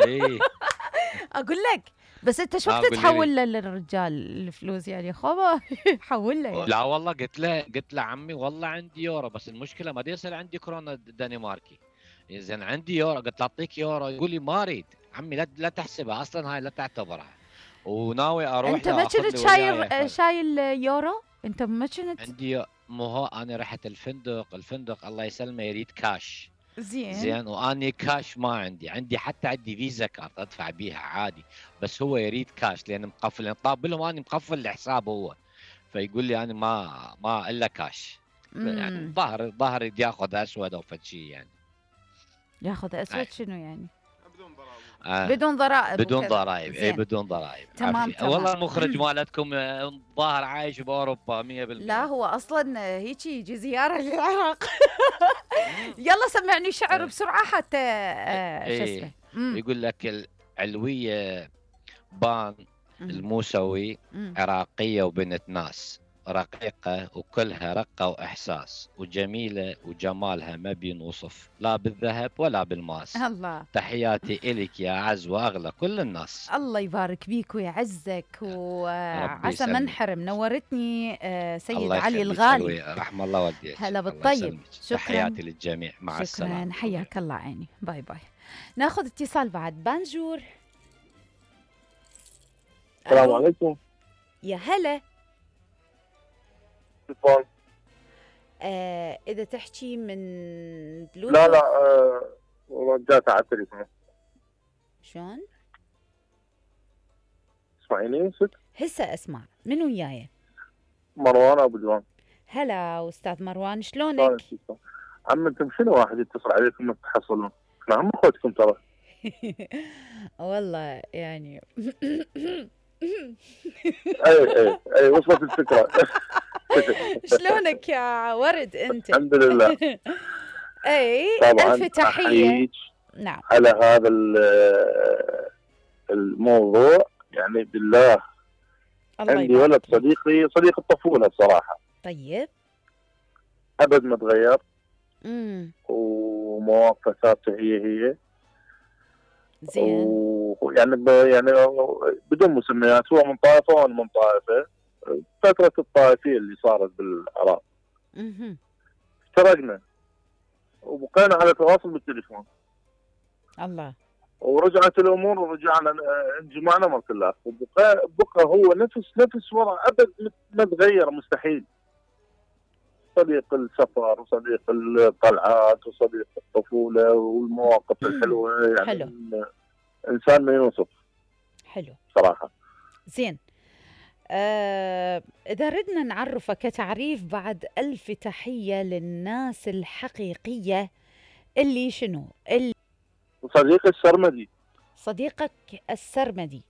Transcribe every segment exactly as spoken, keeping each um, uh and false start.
ايه اقول لك بس انت شو اه وقت قولي لي. تحول له للرجال الفلوس يعني خبا حول له يعني. لا والله قلت له قلت له عمي والله عندي يورو، بس المشكله ما دي يصير عندي كورونا دنماركي. زين عندي يورو، قلت له اعطيك يورو، يقول لي ما اريد عمي، لا لا تحسبها اصلا، هاي لا تعتبرها. وناوي اروح انت ما له اخذ كنت لي وياي شاير ف... شايل يورو؟ انت ما كنت؟ عندي، مو هو انا رحت الفندق، الفندق الله يسلمه يريد كاش. زين. زين واني كاش ما عندي، عندي حتى عندي فيزا كارت ادفع بيها عادي، بس هو يريد كاش لان مقفل، يعني طاب لهم اني مقفل الحساب هو، فيقول لي انا ما ما الا كاش. يعني امم ظهر ظهر يد ياخذ اسود او فد شيء يعني. ياخذ أي. اسود شنو يعني؟ آه. بدون ضرائب بدون وكذا. ضرائب، اي زين. بدون ضرائب. تمام عافية تمام. والله المخرج مالتكم آه، ظاهر عايش باوروبا مية لا بالمية. هو اصلا هيك يجي زياره للعراق. يلا سمعني شعر اي بسرعه حتى آه شو اسمه. اي امم يقول لك العلوية بان امم الموسوي، امم عراقية وبنت ناس، رقيقة وكلها رقة وإحساس، وجميلة وجمالها ما بينوصف لا بالذهب ولا بالماس. الله. تحياتي إلك يا أعز وأغلى كل الناس. الله يبارك بيك ويعزك ربي وعسى ما يسلمك. انحرم. نورتني آه، سيد الله علي يخليك الغالي. علوي، رحم الله والديك. هلا الله بالطيب. يسلمك. شكرا. تحياتي للجميع، مع شكرا السلامة. حياك الله عيني. باي باي. ناخذ اتصال بعد. بانجور. السلام ألو. عليكم. يا هلا. تليفون. آه اذا تحكي من بلوتوث. لا لا آه، رجعت على التليفون. شلون؟ اسمعيني ست. هسه اسمع. من وياي؟ مروان ابو جوان. هلا استاذ مروان شلونك؟ عم انتم شنو واحد يتصل عليكم ما تحصلون؟ احنا هم اخوتكم ترى. والله يعني. اي اي اي وصلت الفكره. شلونك يا ورد انت؟ الحمد لله. اي طبعا الف تحيه. احييك نعم. على هذا الموضوع، يعني بالله. الله عندي ولد يبارك فيك. صديقي، صديق الطفوله بصراحه، طيب. ابد ما تغير امم ومواقفه ثابته هي هي. زين. ويعني ب... يعني بدون مسميات، هو من طائفه وانا من طائفه. فتره الطائفيه اللي صارت بالعراق اها افترقنا وبقينا على تواصل بالتليفون، الله. ورجعت الامور ورجعنا انجمعنا مرة الله، وبقى بقى هو نفس نفس وضع، ابد ما تغير مستحيل. صديق السفر وصديق الطلعات وصديق الطفوله والمواقف الحلوه، يعني حلو. انسان ما يوصف حلو صراحه. زين. آه، إذا ردنا نعرفك كتعريف بعد ألف تحية للناس الحقيقية اللي شنو؟ اللي صديقي السرمدي. صديقك السرمدي.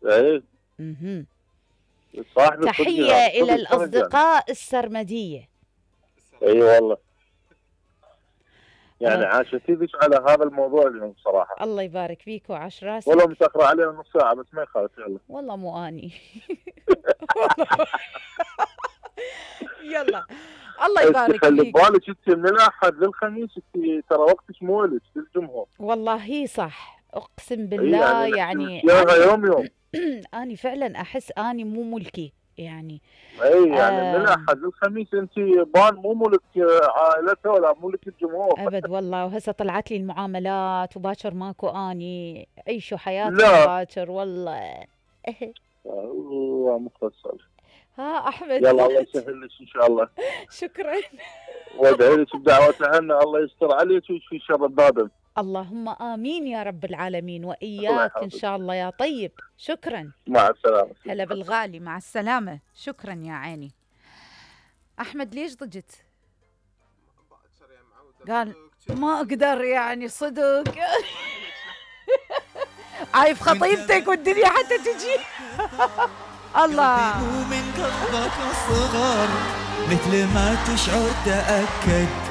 ايه. اها. صاحب تحية إلى الأصدقاء السرمدية. اي والله. يعني عاشتي بك على هذا الموضوع اليوم صراحة. الله يبارك فيك وعاش راسك. والله متأخرة علينا نص ساعة بس ما يخالف. يلا. والله مو اني. يلا الله يبارك خلي فيك. ببالك انت من الاحد للخميس انت ترى وقتك مو لك للجمهور. والله صح اقسم بالله. يعني, يعني يوم يوم. اني فعلا احس اني مو ملكي يعني. اي يعني آه من الاحد للخميس انت بان مو ملك عائلته ولا ملك الجمهور ابد والله. وهسه طلعت لي المعاملات وباكر ماكو اني عيشوا حياتي باكر والله. الله مختصر. ها احمد. يلا الله يسهل لك ان شاء الله. شكرا. وادعي لك بدعوات عنا الله يستر عليك ويشفي شر البابل. اللهم امين يا رب العالمين واياك ان شاء الله يا طيب. شكرا. مع السلامه. هلا بالغالي. مع السلامه. شكرا يا عيني. احمد ليش ضجت؟ قال ما اقدر يعني صدق. عايف خطيبتك والدنيا حتى تجي. الله. من قلبك الصغر مثل ما تشعر تأكد